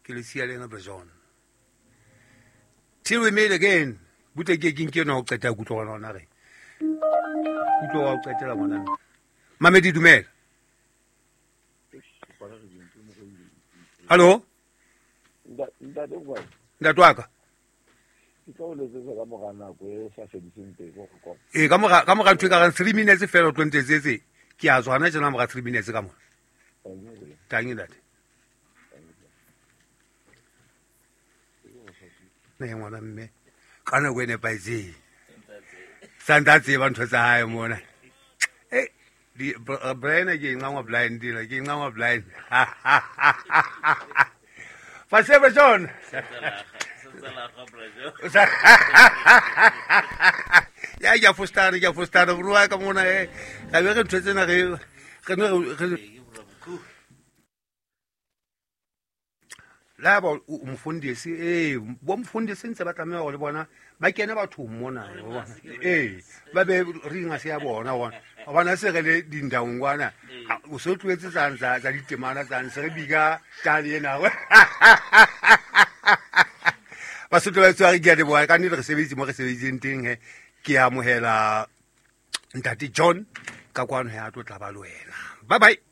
Ke le siya le ena Brajon. Till we meet again. Butle ke ke nke no qeta kutlwa gona ona re. Kutlwa wa o qetela ngwana. Mamedi dumela. Hallo? Ntate o kae? Ntate wa ka. Ke tlo o letsetsa ka mora nako e sa fediseng pelo go kopa. Ee, ka mora ka mora ntho e ka reng 3 minutes fela o tlo ntetsetse. Ke a tswa hona tjena mora 3 minutes ka mona. Tangi ntate. Ne ngwana mme ka nako e nepahetseng. Santse a tseba ntho tsa hae mona. Eh, di Brian ke nqangwa blind dila ke nqangwa blind. Fa se ba John. Ya ke a fostana ke a fostana bro wa ka mona eh. Ga be re ntho tsena re re ne re la ba o mofundisi ee bo mofundisi ntse ba tlameha gore le bona ba kene bathong mona ee ba be ringa se ya bona bona gobana se re le dindaong kwana o se o tloetse tsang tsa ditemana tsang se re bika tane ena basotho ba tshware ke a leboga ka nnete re sebeditse mo re sebeditseng teng he ke amohela ntate John ka kwano he a tlo tla ba le wena. Bye bye.